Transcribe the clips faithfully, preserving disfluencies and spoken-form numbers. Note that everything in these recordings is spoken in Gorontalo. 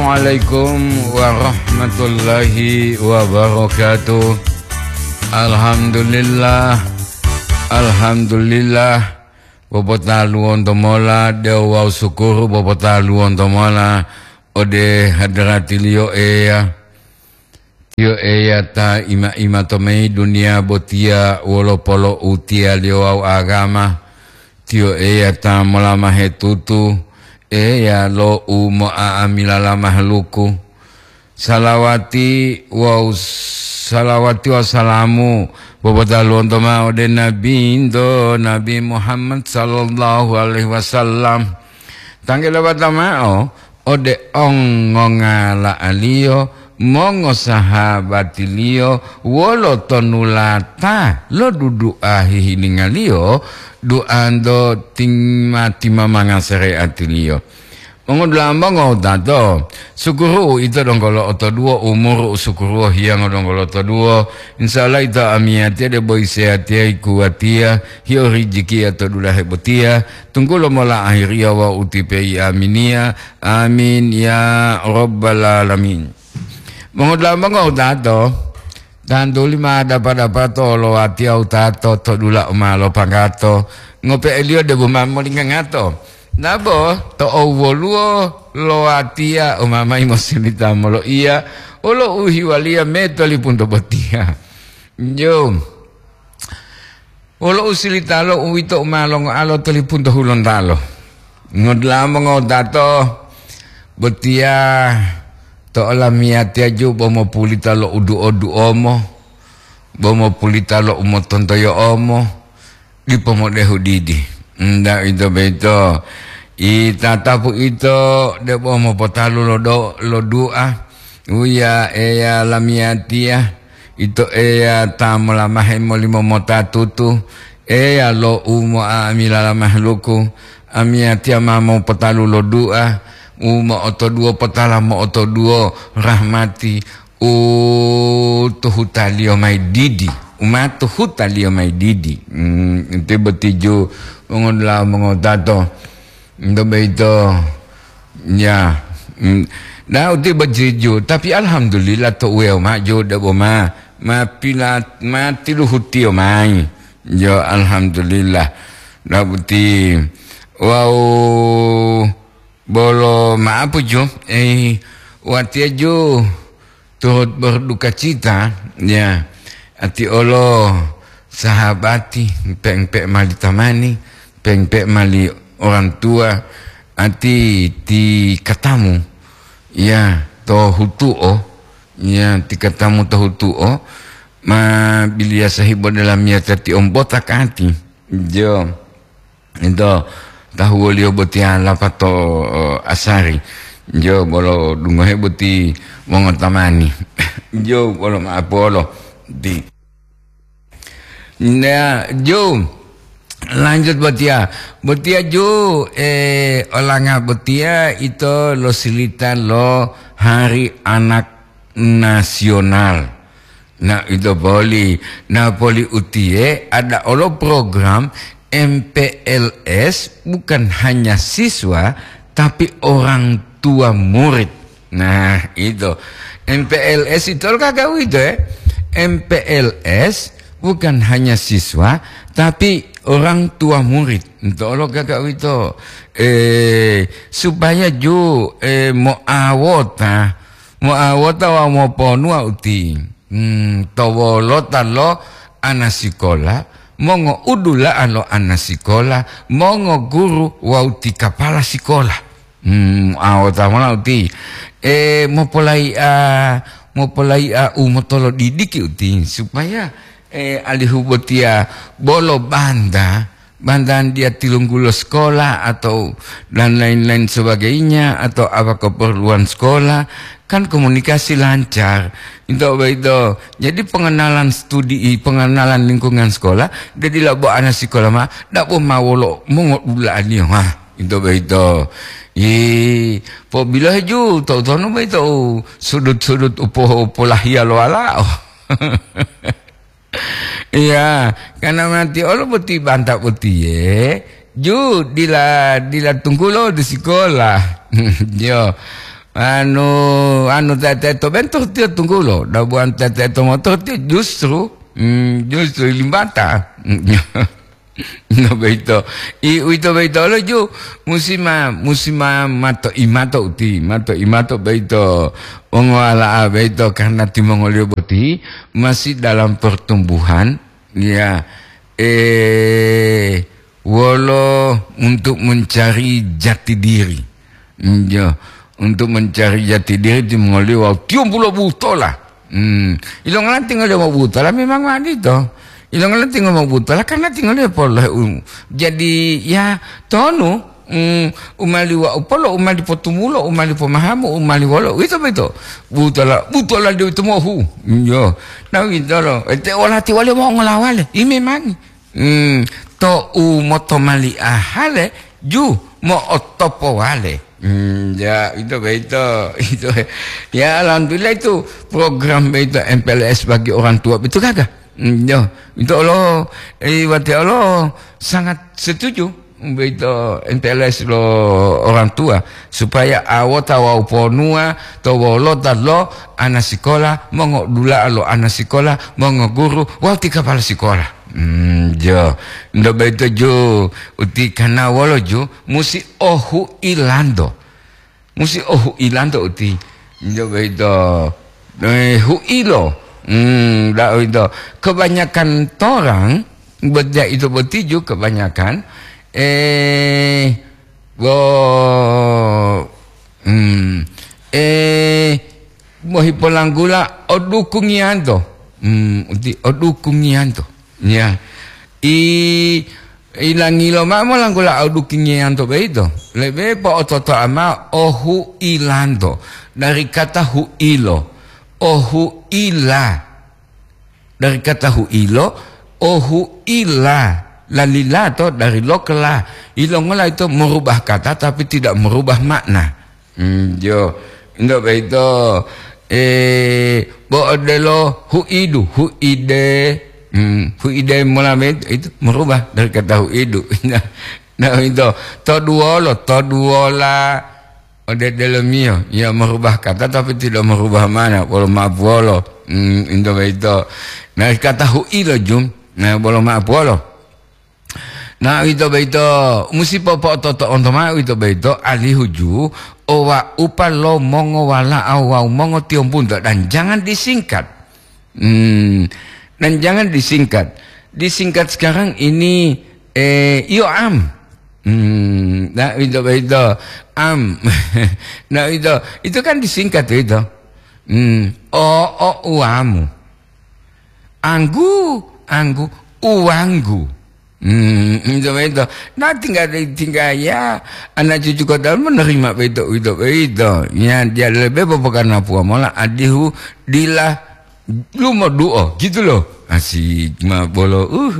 Assalamualaikum warahmatullahi wabarakatuh. Alhamdulillah. Alhamdulillah. Popotaluwonto mola de'u wawu sukuru popotaluwonto mola ode hadarati-Liyo Eya. Tiyo Eya ta ima-ima to mayi duniya botiya wolo polo'utiyaliyo wawu agama. Tiyo Eya ta molamahe tutu, Eya lo u mo'a'amilala mahaluku. Salawati wawu, salawati wawu salamu popotaluwonto ma'o ode Nabinto, Nabi Muhammad sallallahu alaihi wasallam. Tangge lobata ma'o ode ongongala'aliyo, mongosahabatiliyo, wolo tonulata lo dudu'a hihiningaliyo, du'anto tima-timamanga sare'atiliyo. Mongodula'a mongo wutato, sukuru ito donggo lo'otoduwo, umuru u sukuru hiyango donggo lo'otoduwo. Insya Allah ito amiyatiya debo iseyatiya ikuwatiya, hiyo rijikiya to dulahe botiya, tunggulo mola ahiriya wawu utipeyi aminiya. Amin ya rabbal alamin. Mongodula'a mongo wutato, tantuli ma dapa-dapato lo watiya wutato to dula u ma lopanggato, ngope'eliyo debo ma molingangato. Nabo to owwoluwo lo watiya u ma mayi mosilita moloiya, wolo u hiwaliya me tolipunto botiya. Jo. Wolo usilitalo uwito u ma longoalo tolipunto Hulontalo. Ngodula'a mongo wutato, botiya to olamiyatiya ju bo mopulita lo udu'o-du'omo, bo mopulita lo umotontoyo'omo, dipo modehu didi. Nda ito boyito, i tatapu ito debo mopotalu lo do-, lo du'a, uya Eya lamiyatiya, Ito Eya ta molamahe molimomota tutu, Eya lo u mo'a'amilala mahaluku, amiyatiya ma mopotalu lo du'a, u mo'otoduwo potala mo'otoduwo rahmati u to hutaliyo mayi didi, u ma to hutaliyo mayi didi. Hmm, ito boti ju mongodula'a mongotato. Nto boyito, ya, mm, na uti bojiju, tapi alhamdulillah to uweo maju debo ma, ma pila-, ma tiluhutiyo mayi. Yo, alhamdulillah. Na uti, wau bolo maapu ju, eh, watiya ju, turut berdukacita, ya, ati olo sahabati, peng-peng mali tamani, peng-peng mali orang tua, ati ti katamu, ya, to hutuo, ya, ti katamu to hutuo, ma biliya sahibo dalam ya tati ombota kati. Jo. Ito tahuwoliyo botiya lapato, o, asari. Jo bolo dungohe boti mongotamani. Jo bolo ma'apolo. Di-, na, jo, lanjut botiya. Botiya jo, eh, olanga botiya ito lo silita lo Hari Anak Nasional. Na, ito poli, na poli utiye ada olo program M P L S bukan hanya siswa, tapi orang tua murid. Nah, itu. M P L S itu lo kagak itu, eh? M P L S bukan hanya siswa, tapi orang tua murid. Itu lo kagak itu. Eh, supaya ju, eh, moawota, moawota wa moponuwa uti. Hmm, to wolota lo anasikola, mongoudula'a lo anasikola, mongoguru wawu ti kapala sikola. Hmm, awota mola uti. E, mopolai'a, mopolai'a u motolodidiki uti, supaya, e, alihu botiya bolo banta, bantahan dia tilunggulo sekolah atau dan lain-lain sebagainya, atau apa keperluan sekolah, kan komunikasi lancar. Itu apa itu? Jadi pengenalan studi, pengenalan lingkungan sekolah, dia tidak bawa anak sekolah ma, tidak bawa mawolo mongodula'aniyo. Ha, itu apa itu? Ih, po bilohe ju, tahu-tahu apa itu? Sudut-sudut upo-, upolahiya lo walao. Iya, karena mati olo boti banta botiye, ju dila, dila tunggulo di sekolah. Yo. Anu, anu teteto bento tiyo tunggulo, dabuan teteto motor tiyo justru, mm, justru limbata. No beito. I uwito beito lo ju musima, musima mato imato uti, mato imato beito. Ongowala'a beito karena timongoliyo boti masih dalam pertumbuhan, ya, eh, wolo untuk mencari jati diri. Njo, untuk mencari jati diri timongoliyo wawu tiyombulo butola. Hmm. Ilongola tingoliyo mobutola memang wali to. Ilongola tingoliyo mobutola karena tingoliyo polohe u-, jadi ya tonu, hmm, umali wa upolo, umali potumulo, umali pomahamu, umali wolo. Wito beto. Butola, butola dewi tumohu. Njo. Na wito lo. Ete olati wali mongolawale. I memang. Hmm, to'u motomali'ahale ju mo'otopowale. Hmm, ya, ito beito, ito. Ya, alhamdulillah itu program beito M P L S bagi orang tua beito gaga. Hmm, ya, itu Allah, eh, wate Allah sangat setuju beito M P L S lo orang tua supaya awota wawu ponua to wolota lo ana sikola, mongodula'a lo ana sikola, mongoguru wawu ti kapala sikola. Hmm, jo. Ndo boyito ju, uti kana wolo ju, musi ohu'ilanto. Musi ohu'ilanto uti. Ndo boyito, eh, hu'ilo. Hmm, da uwito. Kebanyakan torang, bot-, ya itu boti ju kebanyakan, eh, bo-, hmm, eh, bohipolanggula odukungiyanto. Hmm, uti odukungiyanto. Ya. I, ilangilo mao molanggula odukungiyanto boyito. Lebe po'ototo'a mao ohu'ilanto. Dari kata hu'ilo. Ohu'ila. Dari kata hu'ilo, ohu'ila. Lalila to dari lokela. Ilongola ito merubah kata tapi tidak merubah makna. Hmm, jo. Ndo boyito, eh, bo odelo hu'idu, hu'ide. Hmm, hu'ide mola boyito, itu merubah dari kata hu'idu. Nah, nah, ito, toduwolo, toduwola. Ode delomiyo, ya merubah kata tapi tidak merubah mana, wolo ma'apuwolo. Hmm, ito boyito. Nah, kata hu'ilo jum, nah, wolo ma'apuwolo. Nah, uwito boyito, musi popo'ototo'onto mao uwito boyito, alihu ju, owa'upa lo mongowala'a wawu mongotiyombunto, dan jangan disingkat. Hmm, dan jangan disingkat. Disingkat sekarang ini, eh, iyo am. Hmm, nah, uwito boyito, am. Nah, uwito, itu kan disingkat uwito. Hmm, o, o, uwamu. Anggu, anggu, uwanggu. Hmm, ito boyito. Nah, tingga, tingga ya, anak cucu kota menerima boyito, uwito boyito. Ya, dia lebe popokanapuwa mola adihu dila lumoduo, gitu loh. Asik ma bolo, uh.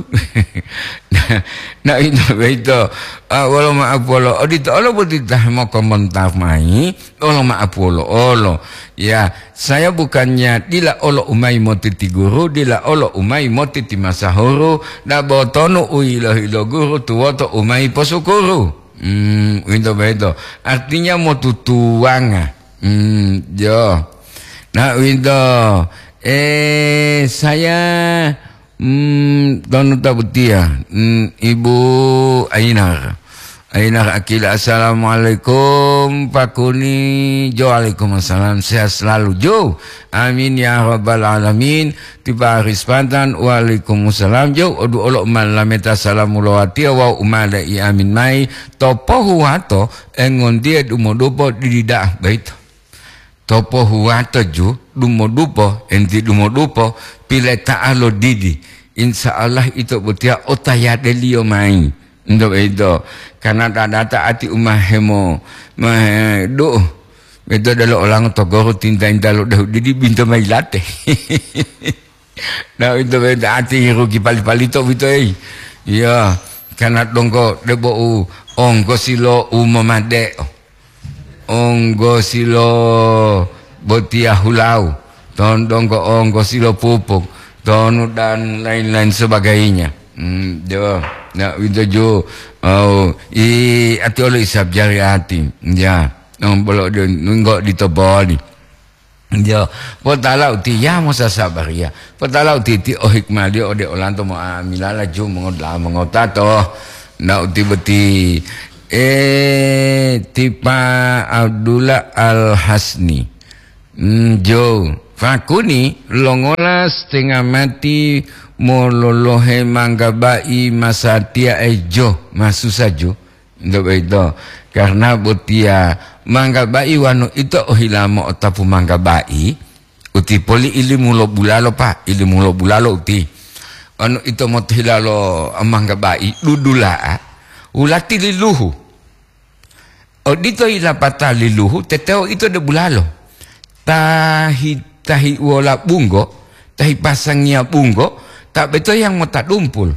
Nah, ito boyito. Ah, wolo ma'apuwolo, odito olo boti ta mokomontar mayi. Olo ma'apuwolo olo. Ya, saya bukannya dila olo umayi motiti guru, dila olo umayi motiti masahuru, dabo tonu u yilohi lo guru tuwoto umayi posukuru. Hmm, uwito boyito. Artinya motutuwanga. Hmm, jo. Nah, uwito. Eh, saya Hmm, tonu ta botiya, hmm, Ibu Ainar. Ainar Akila, "Assalamualaikum, Pak Kuni." Jo, waalaikumsalam. Sehat selalu, Jo. Amin ya rabbal alamin. Tipa Aris Pantan, waalaikumsalam, Jo. Odu olo umalameta salamu lowatiya wawu umada i amin mayi. To pohuwato, engontiye dumodupo didi da'a boyito. To pohuwato ju dumodupo, enti dumodupo, pileta'a lo didi. Insya Allah ito botiya otayadeliyo mayi. Ento boyito, karena dadata ati u ma hemo, ma he-, du'u. Ito delo olango to goro tinta-inta lo dehu didi binto mayi late. Nah, ito boyito ati rugi pali-palito boyito, ei. Iya, karena donggo debo u onggosi lo u momade'o. Onggosi lo botiya hulau, tondonggo onggosi lo pupuk, tonu dan lain-lain sebagainya. Hmm, jo, na uwito jo, au, i ati olo isab jari ati, ya. No, bolo de, nunggo di toboli. Yo, potala uti ya mosasabariya. Potala uti ti o hikmaliyo ode olanto mo amilala ju mongo-, mongotato. Na uti boti, eh, tipa Abdullah Al-Hasni. Mm, jo, fakuni longola setengah mati mololohe manggabai masatiya e jo, masusa jo. Nto boyito, karna botiya manggabai wanu ito ohila mo'otapu manggabai, uti poli ilimu lo bulalo, Pa, ilimu lo bulalo uti. Wanu ito motohila lo manggabai dudula'a, wulati liluhu. Odito yilapata liluhu, teteo ito de bulalo. Tahi, tahi wola bunggo, tahi pasangiya bunggo, ta beto yang mota dumpul.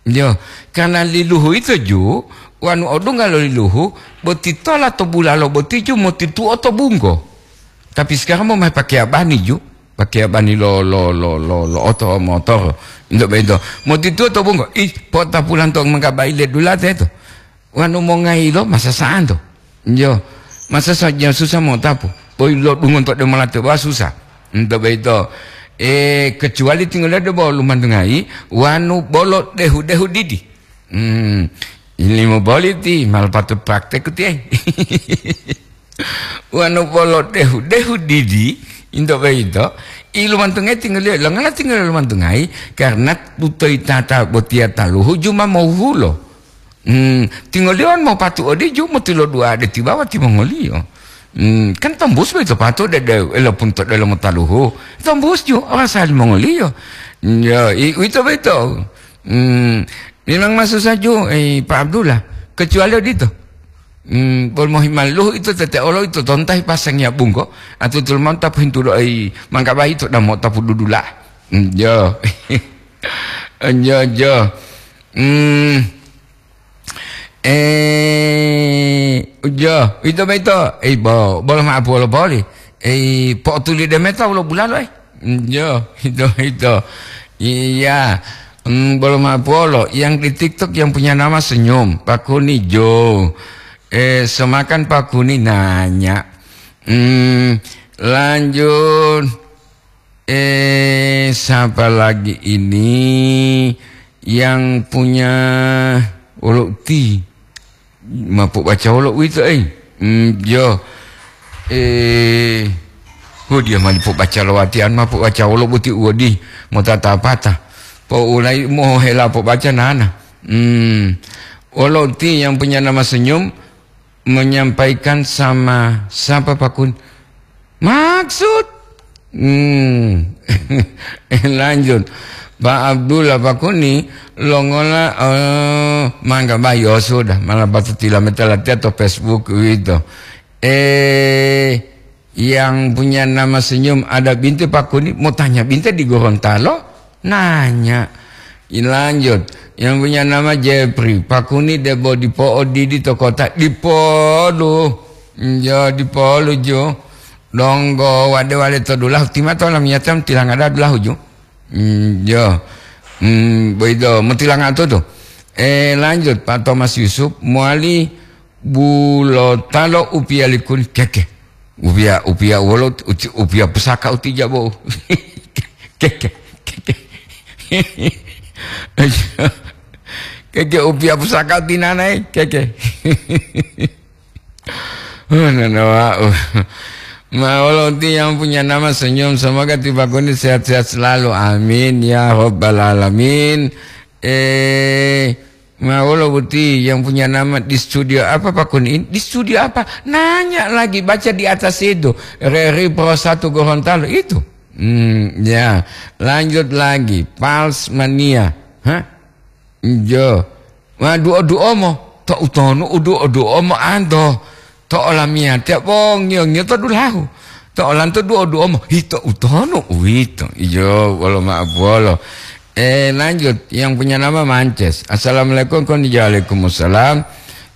Yo, karena liluhu ito ju, wanu odungga lo liluhu, boti tola to bulalo boti ju motituo to bunggo. Tapi sekarang mo mai pakeya bani ju, pakeya bani lo, lo, lo, lo, lo oto motor. Indo bento, motituo to bunggo, ih, pota pulanto manggabai le dulate to. Wanu mongayilo masasa'anto. Yo, masasa ja susa mo'otapu. Boyi lo dungonto de molate wa susa. Nto boyito, eh, kecuali tinggal de bo lumantungayi, wanu bolo dehu-dehu didi. Hmm, ilimo boli ti, malah patut praktek ti, eh. Wanu bolo dehu-dehu didi, into boyito, i lumantungayi tinggal, lo ngala tinggal lumantungayi, karena tutoi tata botiya taluhu juma mohulo. Hmm, tingoliyo mopatu odiju motilodu'a de tibawa timongoliyo. Hmm, kan tombus boyito patu de, de, elopun to delomo taluhu. Tombus ju, orasa limongoliyo. Ya, i-, uwito boyito. Hmm, memang masusa ju, eh, Pak Abdullah. Kecuali odito. Hmm, bol mohimaluhu ito tete olo ito tontahi pasangiya bunggo, atutul manta pohintulo ai manggabai ito damo tapu dudula. Hmm, jo. Jo, jo. Hmm. Eh, jo, ito boyito, eh, bo-, bolo ma'apu wolo boli. Eh, po'otuli de meta wolo bulalo, eh. Jo, ito, ito. Iya. Hmm, bolo ma'apu wolo. Yang di TikTok yang punya nama Senyum, Pak Kuni Jo. Eh, semakan Pak Kuni nanya. Hmm, lanjut. Eh, siapa lagi ini yang punya wolo uti? Mapu baca wolo uwito, eh. Hmm, yo. Eh, oh, dia mali po baca lo watian, mapu baca wolo buti uwodi, mota tapata. Po ulai mo hela po baca nana. Hmm. Wolo uti yang punya nama Senyum, menyampaikan sama siapa, Pak Kun? Maksud? Hmm. Lanjut. Pak Abdullah, Pak Kuni, longola, eh, mangga bayo sudah, malah batu tilameta latihan atau Facebook gitu. Eh, yang punya nama Senyum ada binte, Pak Kuni, mau tanya binte di Gorontalo? Nanya. Lanjut. Yang punya nama Jepri, Pak Kuni debo dipo'o didi to kota, dipolu. Njo, dipolu ju. Donggo wade-wade to dulahu, tima to lamiyata tilangada dulahu ju. Njo. Hmm, boyito, mutilanga to to. Eh, lanjut, Pak Thomas Yusuf, mowali bulotalo upiya likuni, keke. Upiya, upiya wolo, uti-, upiya pusaka uti jabo. Keke, keke. Keke upiya pusaka uti nanae, keke. Oh, nana wa'u. Ma wolo uti yang punya nama Senyum, semoga ti Pak Kuni sehat-sehat selalu. Amin ya rabbal alamin. Eh, Ma wolo boti yang punya nama di studio apa, Pak Kuni? Di studio apa? Nanya lagi, baca di atas itu. Reri Pro Satu Gorontalo itu. Hmm, ya. Lanjut lagi. Pals Mania. Hah? Jo. Ma duo-duo mo. To utonu uduo-duo mo anto. To olamiyatiya bo ngiyo-ngiyo to dulahu. To olanto duo-duo mo hito utonu uwito. Iyo, wolo ma'apuwolo. Eh, lanjut. Yang punya nama Mances. Assalamualaikum, koni waalaikumsalam.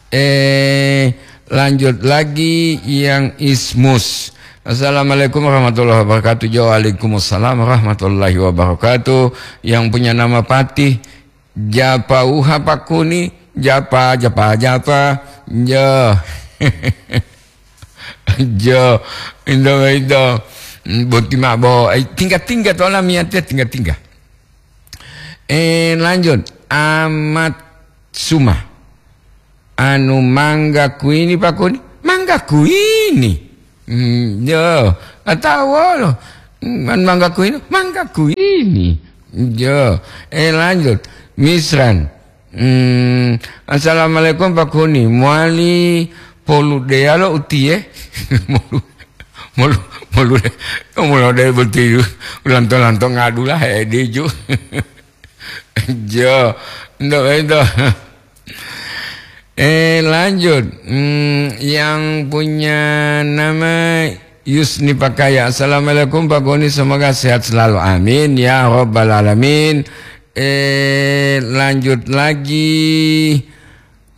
Eh, lanjut lagi yang Ismus. Assalamualaikum warahmatullahi wabarakatuh. Jo, waalaikumsalam warahmatullahi wabarakatuh. Yang punya nama Patih. Japa uha pakuni, japa, japa, japa. Njo. Jo, indo, indo. Boti mabo, ai, tingga-tingga to lamiyate, tingga-tingga. Eh, lanjut. Amat Suma. Anu mangga kuini pakuni? Mangga kuini. Hmm, jo, atau wolo. Hmm, anu mangga kuini? Mangga kuini. Jo, eh, lanjut. Misran. Hmm, assalamualaikum Pak Huni. Mowali poludeyalo utiye? Molu, molu, molu, molu de boti ulanto-lanto ngadula hedijo. Jo, ndo ento. Eh, lanjut. Hmm, yang punya nama Yusni Pakaya. Assalamualaikum Pak Goni, semoga sehat selalu. Amin ya robbal alamin. Eh, lanjut lagi.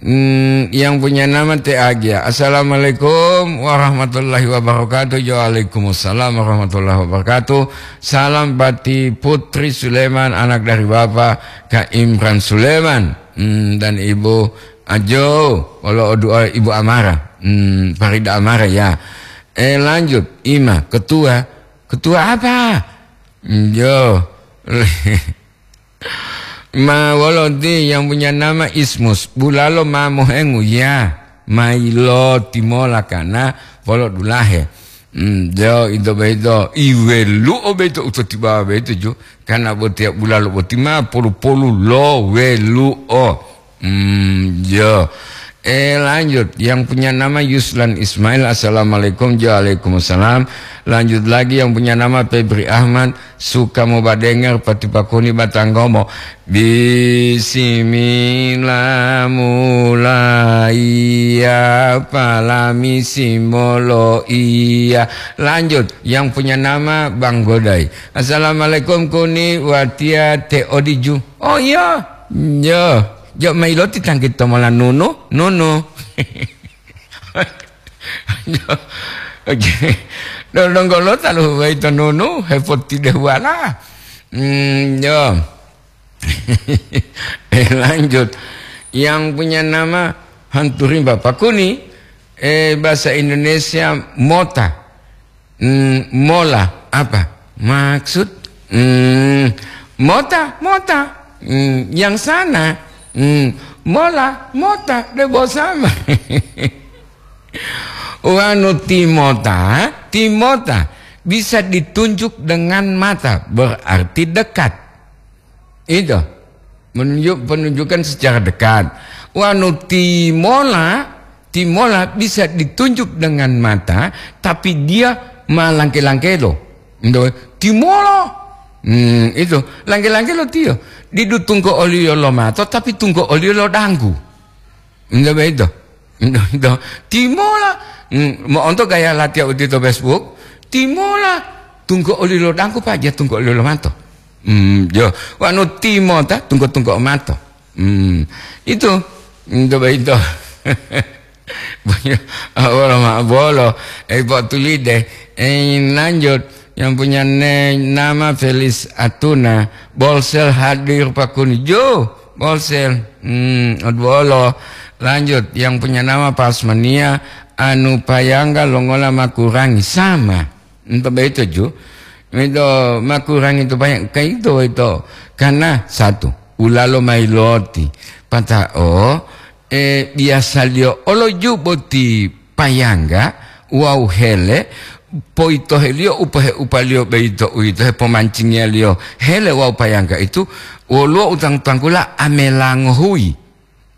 Hmm, yang punya nama T A G. Assalamualaikum warahmatullahi wabarakatuh. Waalaikumsalam warahmatullahi wabarakatuh. Salam bati Putri Suleman, anak dari Bapak Kak Imran Suleman. Hmm, dan Ibu Ajo, kalau doa Ibu Amara. Hmm, Farida Amara ya. Eh, lanjut, Ima, ketua. Ketua apa? Hmm, jo. Ma wolo ti yang punya nama Ismus, bulalo ma mohengu ya, ma ilo timola kana polo dulahe. Hmm, jo, ito beito, iwelu'o beito, utotibawa beito ju, kana botiya bulalo boti ma polu-polu lo welu'o. Hmm, jo. Eh, lanjut. Yang punya nama Yuslan Ismail. Assalamualaikum. Waalaikumsalam. Lanjut lagi yang punya nama Febri Ahmad. Suka mobadenger pati pakuni batanggomo. Bismillah mulaiya palami simolo iya. Lanjut. Yang punya nama Bang Godai. Assalamualaikum kuni watia te odiju. Oh iya. Yo. Jo mailoti tanggi tomola nunu, nunu. Jo. Oke. Dodonggolo talu waito nunu, hepoti dehuala. Hmm, yo. Eh, lanjut. Yang punya nama Hantu Rimba Pakuni, eh, bahasa Indonesia mota. Hmm, mola apa? Maksud? Hmm, mota, mota. Hmm, yang sana. Hmm, mola, mota, debo sama. Wanu timota, timota bisa ditunjuk dengan mata, berarti dekat. Itu menunjuk, penunjukan secara dekat. Wanu timola, timola bisa ditunjuk dengan mata, tapi dia malangke-langkelo. Ndo, timola. Hmm, itu langke-langkelo tiyo. Didu tungko oliyo lo mato, tapi tungko oliyo lo danggu. Ndo beito. Ndo, ndo. Timola. Hmm, mo'onto gaya latiya uti to Facebook. Timola. Tungko oli lo dangku paja, tungko oli lo mato. Hmm, jo. Wanu timota, tungko-tungko mato. Hmm, itu. Ndo beito. Awolo ma bolo. Eh, Pak Tulide. Eh, lanjut. Yang punya ne-, nama Felis Atuna. Bolsel hadir pakuni. Jo, Bolsel. Hmm, odwolo. Lanjut, yang punya nama Pasmania, anu payangga longola makurangi. Sama. Ento beito ju. Ento makurangi itu banyak. Kaito itu. Karena satu, ulalo mailoti. Pata'o, eh, biasaliyo olo ju boti payangga wawu hele, poyitoheliyo upahe-upaliyo boyito uwito hepomancingiyaliyo hele wawu payangga itu woluwo utang-tanggula amela ngohuyi.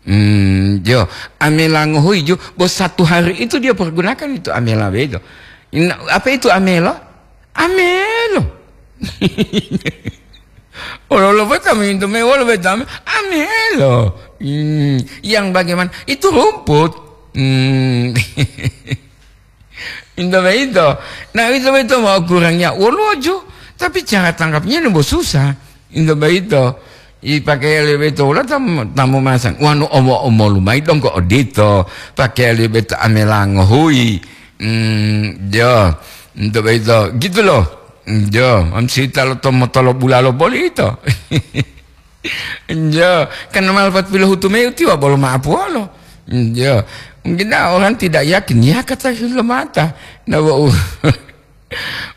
Hmm, jo, amela ngohuyi jo, bo satu hari itu dia pergunakan itu amela boyito. Ina-, apa itu amela? Amelo. Olo-olo beta mintu me wolo beta me, amelo. Hmm, yang bagaimana? Itu rumput. Hmm. Into beito. Nah, itu beito mau kurangnya wolojo, tapi cara tangkapnya nombo susah. Into beito. I pakai lebe to wala tam-, tamu masang. Wanu omo-omo lumai dong ko odito. Pakai lebe to amelango hui. Hmm, jo. Into beito. Gitu loh. Jo, am sita lo tomo tolo bulalo boli ito. Jo, kan malpat pilohutu mayi utiwa bolo ma'apuwolo. Jo, Mungkin orang tidak yakin, ya kata lomata. Nah, wau.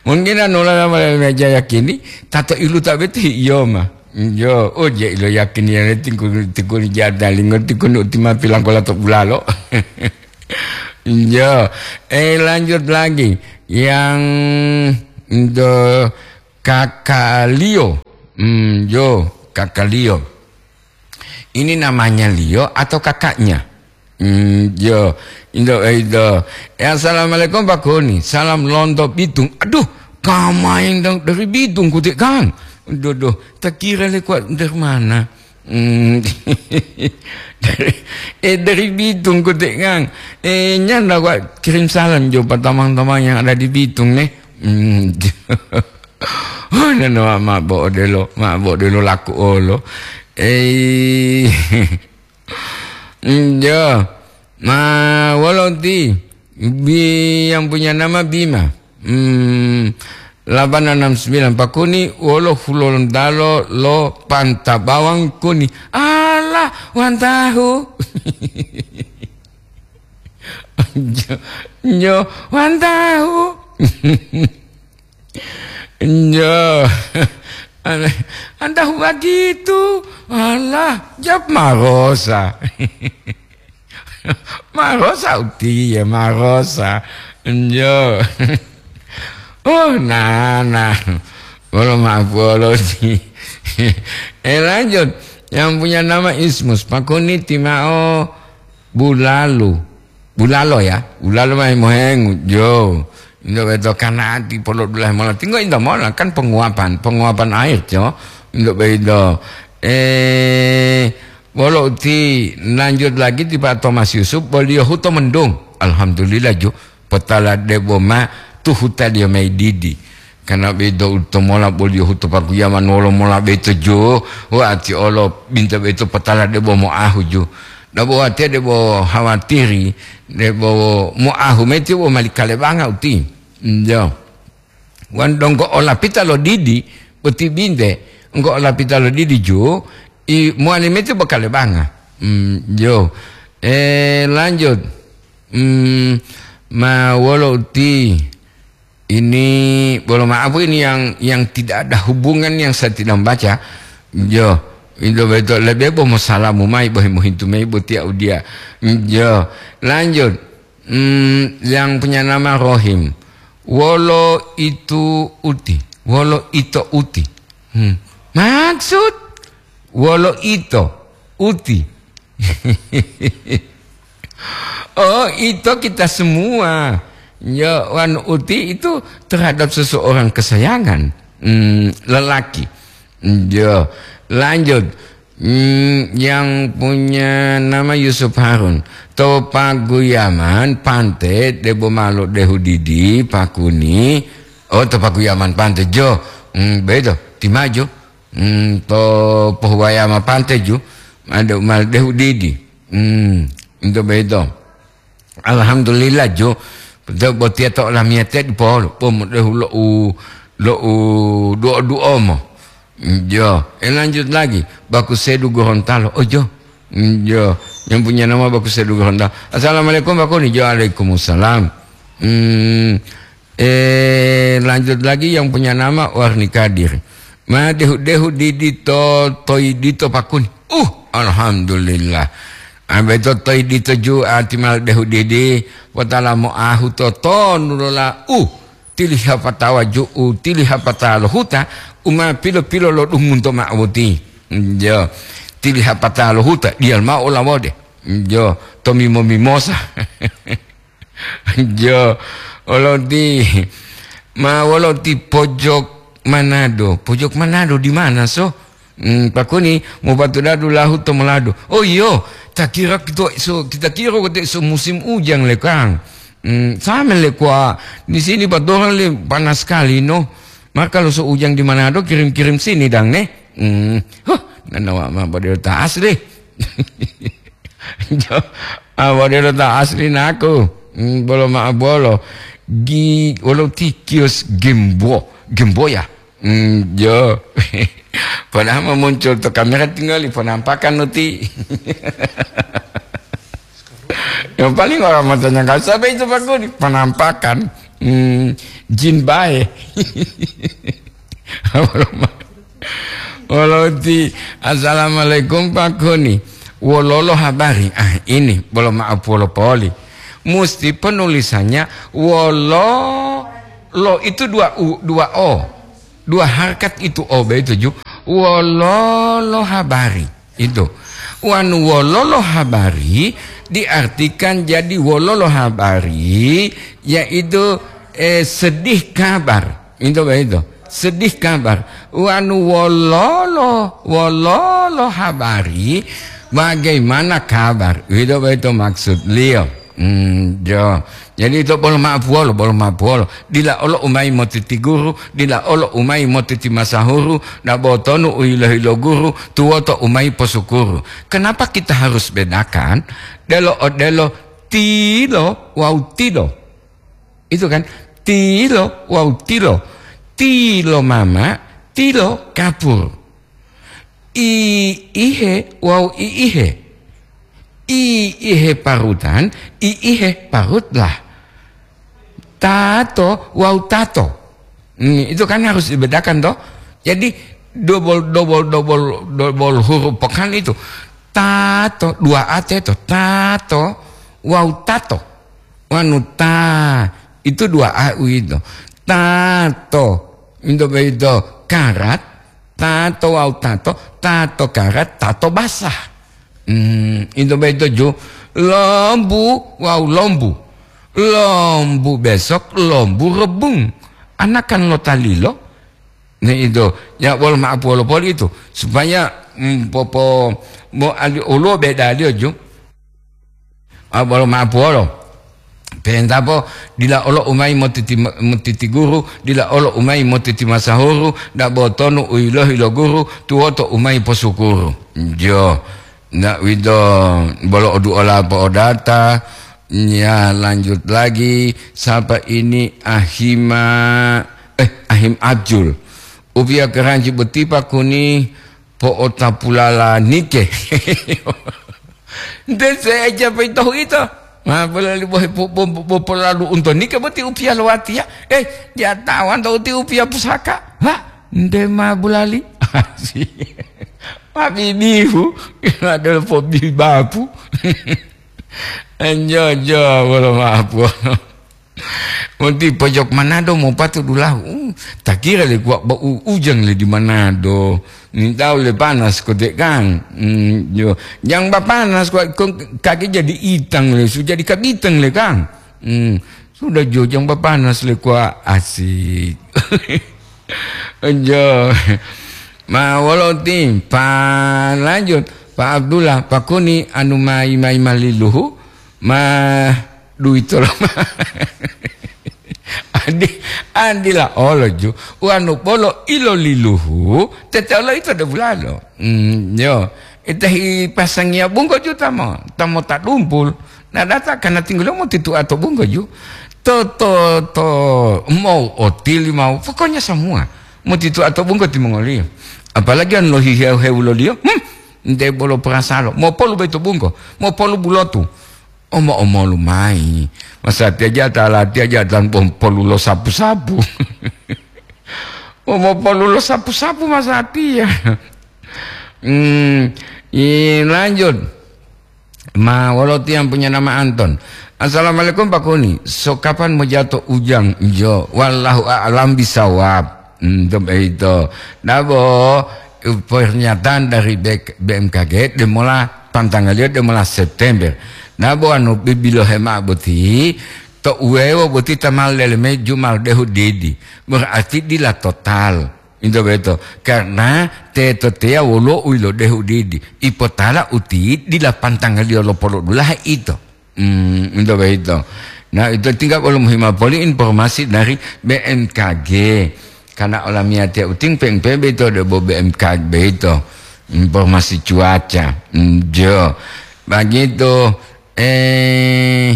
Mungkin anu la mala meja yakini, tato ilu ta bete iyo ma. Yo, oh, je ilo yakin ya tingku, tingku ni jada lingo, tingku ni utima pilang kola to bulalo. Yo, eh, lanjut lagi. Yang do Kakak Lio. Hmm, yo, Kakak Lio. Ini namanya Lio atau kakaknya? Hmm, yo, indo, eh, indo. Eh, assalamualaikum, Pak Koni. Salam lonto Bitung. Aduh, kamain dong dari Bitung, kutik kan? Duh, duh, tak kira le kuat dari mana? Hmm. Dari, eh, dari Bitung, kutik kan? Eh, nyanda kuat kirim salam jo, Pak, tamang-tamang yang ada di Bitung, nih. Hmm. Oh, nano ma bo odelo, ma bo odelo laku olo. Eh, iya. Ma, wolo ti? Bi-, yang punya nama Bima. Hmm, delapan enam sembilan Pakuni, wolo Hulontalo lo Panta Bawang Kuni. Alah, wantahu. Nyo, nyo, wantahu. Nyo. Anta huwa gitu. Alah, jawab marosa. Marosa utiye, marosa. Nyo. Oh, nana. Bolo maaf, bolo di. Eh, lanjut. Yang punya nama Ismus, Pakuni timao Bulalu. Bulalo ya, bulalo mai mohengu, jo. Indo beto kanati polo dulahe mola. Tinggo indo mola, kan penguapan, penguapan air, jo. Indo beto. Eh, bolo uti lanjut lagi ti Pak Thomas Yusuf, boliyo huto mendung. Alhamdulillah, jo. Potala debo ma tuhuta dia mai didi. Kana beto uto mola boliyo huto pakuyaman wolo mola beto, jo. Wa ati olo binta beto potala debo moahu, jo. Dabo watiya debo hawatiri, debo moahu meti bo mali kalebanga uti. Njo. Wan donggo olapita lo didi, boti binte, enggo olapita lo didi ju, i muani meti bo kalebanga. Hmm, jo. Eh, lanjut. Hmm, ma wolo uti. Ini, bolo maaf, ini yang, yang tidak ada hubungan yang saya tidak membaca. Jo, itu betul. Lebih bo mosalamu mai, bo mohintu mai, bo tiya udia. Jo, lanjut. Hmm, yang punya nama Rohim. Wolo itu uti. Wolo ito uti. Hmm. Maksud? Wolo ito uti. Oh, itu kita semua. Ya, wan uti itu terhadap seseorang kesayangan. Hmm, lelaki. Ya, lanjut. Hmm, yang punya nama Yusuf Harun. To paguyaman pante debo malo dehu didi pakuni. Oh, to paguyaman pante jo. Hmm, bedo. Timajo. Hmm, to pohuwaya ma pante ju, ado mal dehu didi. Hmm, ento boyito. Alhamdulillah ju, to botiya to olamiyatiya dipolo, pomo dehu lo'u, lo'u duo-duo mo. Hmm, jo, eh, lanjut lagi, Baku Sedu Gorontalo. Oh, jo. Hmm, jo, yang punya nama Baku Sedu Gorontalo. Assalamualaikum, Baku ni. Jo, waalaikumsalam. Hmm, Eh, lanjut lagi yang punya nama Warni Kadir. Ma dehu-dehu didi to toyi dito pakuni. Uh, alhamdulillah. Ambe to toyi dito ju ati mal dehu didi, watala mo ahu to tonu lola. Uh, tiliha patawa ju'u, tiliha pata lo huta, uma pilo-pilo lo dumunto ma awuti. Jo, tiliha pata lo huta, dial ma olawode. Jo, to mimo-mimosa. Jo, oloti, ma woloti pojok Manado. Pojok Manado di mana, so? Hmm, pakuni, mopatudadu lahu to Molado. Oh, iyo, ta kira kita so, kita kira kote so musim ujang le, Kang. Hmm, sama le kwa, di sini patoran le panas sekali, no. Maka lo so ujang di Manado, kirim-kirim sini, dang, ne? Hmm, huh, nanawa ma pada tas deh. Jo, ah, wau delo ta asli naku. Hmm, bolo ma'a bolo. Gi-, wolo ti kios gembo, gembo ya? Hmm, jo. Padahal mau muncul to kamera tinggal di penampakan nuti. Yang paling orang matanya nggak sampai itu, Pak Kuni. Penampakan. Hmm, jin bae. Woloti, "Assalamualaikum, Pak Kuni. Wololo habari?" Ah, ini, bolo maaf, wolo poli. Musti penulisannya wolo, lo itu dua u, dua o. Dua harkat itu o begitu ju. Wololo habari. Itu. Wanu wololo habari diartikan jadi wololo habari, yaitu, eh, sedih kabar. Itu begitu. Sedih kabar. Wanu wololo, wololo habari, bagaimana kabar? Itu begitu maksud liyo. Hmm, jo. Jadi ito bolo ma'apuwolo, bolo ma'apuwolo. Dila olo umayi motiti guru, dila olo umayi motiti masahuru, na botonu u hilo-hilo guru, tuwoto umayi posukuru. Kenapa kita harus bedakan? Delo odelo tilo wawu tilo. Itu kan, tilo wawu tilo. Tilo mama, tilo kapur. I ihe wawu i ihe. I ihe parutan, i ihe parutlah. Tato wawu tato. Hmm, itu kan harus dibedakan, toh. Jadi, double, double, double, double huruf pekan itu. Tato, dua A teto. Tato wawu tato. Wanu ta, itu dua A uwito. Tato, into boyito karat, tato wawu tato, tato karat, tato basah. Hmm, into boyito ju, lombu wawu lombu. Lombu besok, lombu rebung. Anakan lo talilo. Ni itu, ya, wolo ma'apuwolo poli itu. Supaya, mm, popo-, mo ali-, oluwo bedaliyo ju. A, bolo ma'apuwolo. Pentapo, dila olo umayi motiti, motiti guru, dila olo umayi motiti masahuru, dabo tonu u yilohi lo guru, tuwoto umayi posukuru. Jo, nda uwito bolo oduola po'odata, ya, lanjut lagi, sapa ini? Ahima, eh, Ahim Abjul. Upiya keranji boti pakuni po'otapulala nike. Nte seeja peito hu'ito. Ma bulali bohe po-, po-, po-, polalu unto nike boti upiya lo watiya. Eh, diya tawanto uti upiya pusaka. Ha, nte ma bulali. Ma bibihu, adol po bibapu. Enjo-jo, bolo mapu. Monti pojok Manado mopatu dulahu. Uh, takira le kuwa ba u-, ujang le di Manado. Nintau le panas kote kan. Hmm, yo. Jang ba panas kuwa ko-, kaki jadi itang le, su jadi kabitang le kan. Hmm, sudah jo jang ba panas le kuwa asik. Jo. Ma wolo ti, pa lanjut, Pa Abdullah, pakuni anu mayi-mayi maliluhu, ma duwito loma. Adi, adila olo ju, wanu bolo iloliluhu, tete olo ito de bulalo. Hmm, yo. Ite hi pasangiya bunggo ju tamo, tamo tadumpul. Na data kana tinggulo motitua to bunggo ju. To, to, to, mau otili mau, pokoknya semua. Motitua to bunggo timongoliyo. Apalagi an lohi hewu-hewuloliyo, hmm, nte bolo perasalo. Mopolu beto bunggo, mopolu bulotu. Omo-omolu mayi. Masatiya jata latiya jata polu lo sapu-sapu. Omo polu lo sapu-sapu masatiya. Hmm, i lanjut. Ma, wolo tiyang punya nama Anton. "Assalamualaikum, Pak Kuni. So kapan mojato ujang?" Jo, wallahu a'lam bisawab. Hmm, to beito. Dabo, pernyataan dari B-, B M K G demola pantangaliyo demola September. Dabo anu bibilohe ma'o boti, to uwewo boti tamal leleme jumal dehu didi. Berarti dila total. Into boyito, karna teto teya woluwo u yilodehu didi, ipotala uti dila pantangaliyo lo polodulahe ito. Hmm, into boyito. Nah, ito tinggal bolo mohima poli informasi dari B M K G. Karena olamiyatiya uting pengpe beito debo B M K G beito. Informasi cuaca. Hmm, jo. Begitu. Eh,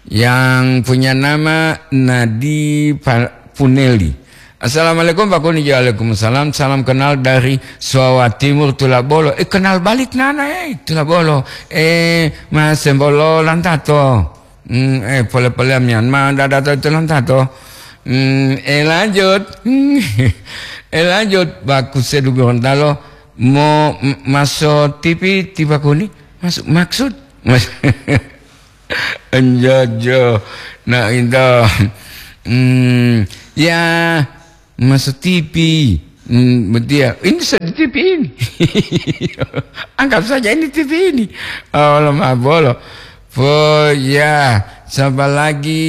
Yang punya nama Nadi Pa-, Puneli. Assalamualaikum, Pak Kuni. Waalaikumsalam. Salam kenal dari Suawa Timur, Tulabolo. Eh, kenal balik nana, eh, Tulabolo. Eh, Mas Sembolo Lantato. Hmm, eh, pole-pole Myanmar, dada to itu Lantato. Hmm, eh, lanjut. Eh, lanjut. Bagus, saya dulu Gorontalo. Mo, m-, maso T V, tiba Kuni. Mas-, maksud? Mas-, Enjojo. Nah, itu. Hmm, ya, masuk T V. Hmm, betul ya. Ini sudah T V ini. Anggap saja ini T V ini. Oh, lemah bolo. Oh, ya. Siapa lagi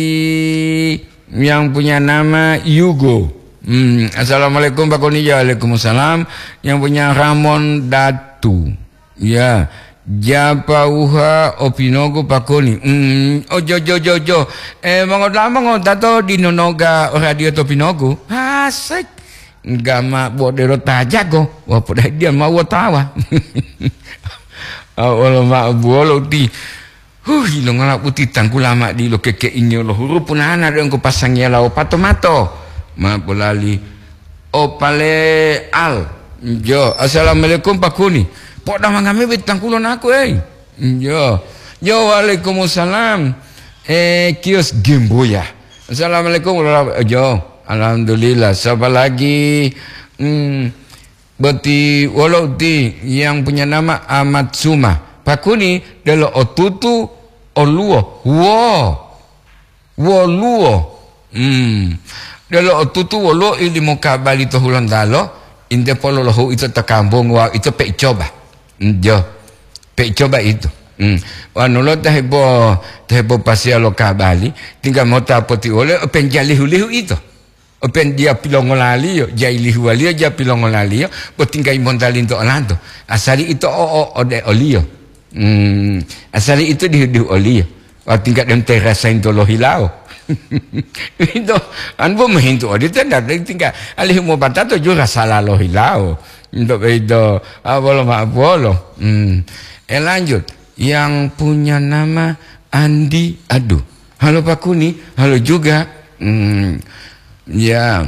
yang punya nama Yugo? Hmm, assalamualaikum, Pak Kuni. Waalaikumsalam. Yang punya Ramon Datu. Ya, japauha opinogu Pak Kuni. Mm, ojo, jo, jo, jo. Eh, mongodama ngotato di nonoga radio topinogu. Hasek. Gama bodero tajago. Wah, podai dia mau tawa. Awolo ma buolo ti. Huh, ilongola uti tangkula ma dilo kekeingiyo lo hurupu nana de engko pasangiya lao pato mato. Ma bolali. Opale al. Jo, assalamualaikum Pak Kuni. Poda mangame betangkulo naku, eh. Jo. Jo, waalaikumsalam. Eh, kios Gemboya. Assalamualaikum warahmatullahi. Jo, alhamdulillah. Siapa lagi? Hmm, boti wolo uti yang punya nama Amat Suma. Pak Kuni delo otutu oluwo. Wo. Woluwo. Hmm. Delo otutu woluwo ilimo kabali to Hulontalo, inte pololohu ito to kambungu wawu ito pe icoba. Hmm, jo. Pe icoba ito. Hmm. Wanu lo ta hebo, ta hebo pasiya lo kabali, tingga mota poti wole open jalihu-lihu ito. Open dia pilongolaliyo, jai lihuwaliyo ja pilongolaliyo, bo tingga imontalinto olanto. Asali ito o, o, ode oliyo. Hmm. Asali ito dihu-dihu oliyo. Wah, tingkat dem terasa into lohilawo. Itu, an bo mohintu odito, ndak tingkat alihu mobatato jura sala lohilawo. Untuk itu, ah, bolo ma bolo. Hmm. Eh, lanjut. Yang punya nama Andi, aduh. Halo Pak Kuni, halo juga. Hmm. Ya.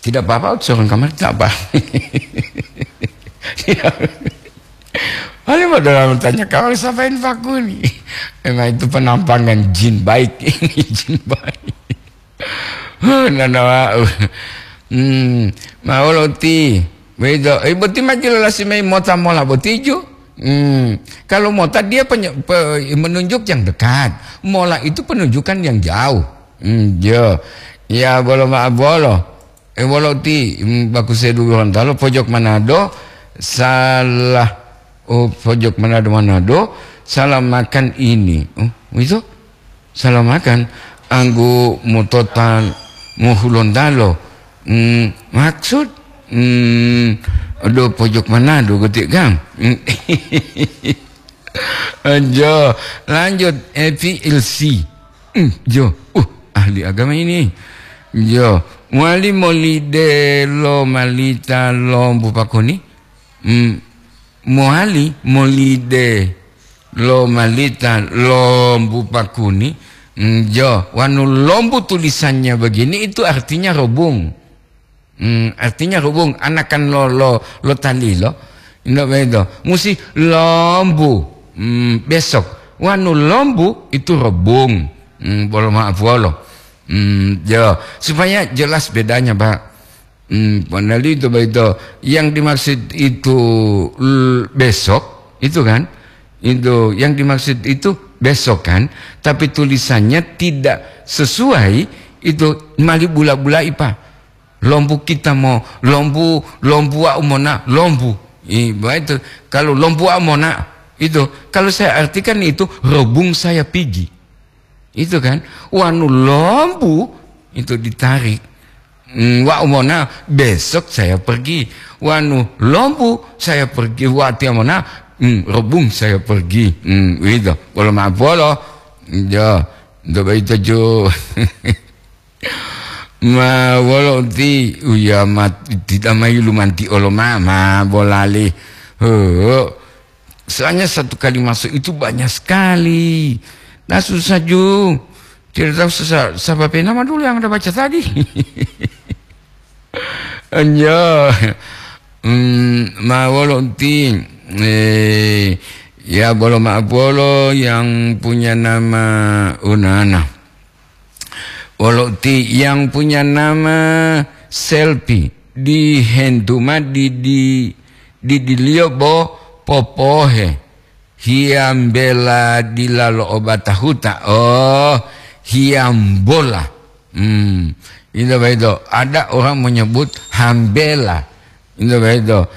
Tidak apa-apa, seorang kamar tidak apa. Tidak. Paling mau dalam tanya, "Kau siapa ini, Pak Kuni?" Memang itu penampakan jin baik. Ini jin baik. Huh, nana wau. Hmm, mau loti. Begitu. Eh, boti maju lelasi mai mota mola botiju. Hmm, kalau mota dia penye-, pe-, menunjuk yang dekat. Mola itu penunjukan yang jauh. Hmm, jo. Ya, bolo ma-, bolo. Eh, wolo ti, mm, baku sedu Gorontalo, pojok Manado, salah, oh, pojok Manado, Manado, salah makan ini. Oh, itu? Salah makan. Anggu mutotan muhulontalo. Mm, maksud? Mm, aduh, pojok Manado, getik kan? Mm. Anjo, lanjut, F L C. Hmm, jo, uh, ahli agama ini. Jo, mowali molide lo malita lombu pakuni? Hmm, mowali molide lo malita lombu pakuni? Hmm, jo, wanu lombu tulisannya begini, itu artinya robung. Hmm, artinya hubung anakan lo, lo, lo talilo. Ino beto. Musi lombu. Hmm, besok. Wanu lombu itu rebung. Hmm, bolo maaf wolo. Hmm, jo. Supaya jelas bedanya, Pak. Hmm, panali itu begitu. Yang dimaksud itu l-, besok, itu kan? Itu yang dimaksud itu besok kan? Tapi tulisannya tidak sesuai, itu mali bula-bulai, Pak. Lombu kita mo, lombu, lombu wau mona, lombu. I, ba itu, kalau lombu wau mona, itu, kalau saya artikan itu, robung saya pigi. Itu kan, wanu lombu, itu ditarik. Hmm, wau mona, besok saya pergi. Wanu lombu, saya pergi. Wati mona, hmm, robung saya pergi. Hmm, itu. Bolo ma bolo. Jo, itu begitu jo. Ma, wolo uti, uya mat-, tidak mayulu manti olo ma, ma bolali. He, soalnya satu kali masuk itu banyak sekali. Nah, susah ju. Tidak tahu sesa-, siapa nama dulu yang Anda baca tadi. Anja. Hmm, ma wolo uti, eh, ya bolo ma'apolo yang punya nama Unana. Wolo uti yang punya nama Selfie. Dihentu ma di, di, di diliyo bo popohe. Hiambela dila lo obata huta. Oh, hiambola. Hmm. Itu begitu. Ada orang menyebut hambela. Itu begitu.